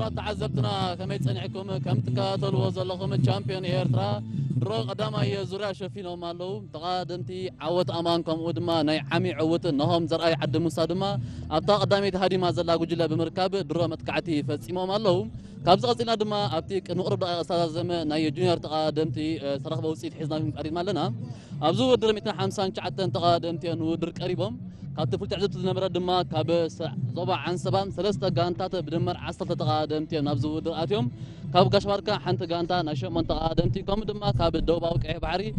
ክቡራት ተዓዘብትና ከመይ ጸኒሕኩም? ከም ትከታተልዎ ዘለኹም ቻምፒዮን ኤርትራ ድሮ ቀዳማይ ዙርያ ሸፊኖም ኣለዉ። ተቐዳደምቲ ዓወት ኣማን ከምኡ ድማ ናይ ዓሚ ዕውት ነሆም ዘርኣይ ዓዲ ሙሳ ድማ ኣብታ ቀዳመይቲ ሃዲማ ዘላ ጉጅለ ብምርካብ ድሮ መጥቃዕቲ ፈጺሞም ኣለዉ። ካብዚ ቀጺልና ድማ ኣብቲ ቅድሚ ቁሩብ ደቂቕ ዝተዛዘመ ናይ ጁኒየር ተቐዳደምቲ ዝተረኽበ ውፅኢት ሒዝናኩም ቀሪብና ኣለና። ኣብዚ ውድድር ሚእትን ሓምሳን ትሽዓተን ተቐዳደምቲ እዮም ንውድድር ቀሪቦም። ካብቲ ፍሉይ ትዕዝብቲ ዝነበረ ድማ ካብ ዞባ ዓንሰባን ሰለስተ ጋንታት ብድምር ዓሰርተ ተቐዳደምቲ እዮም ናብዚ ውድድር ኣትዮም። ካብ ጋሽ ባርካ ሓንቲ ጋንታ ናይ ሸሞንተ ተቐዳደምቲ ከምኡ ድማ ካብ ደቡባዊ ቀይሕ ባሕሪ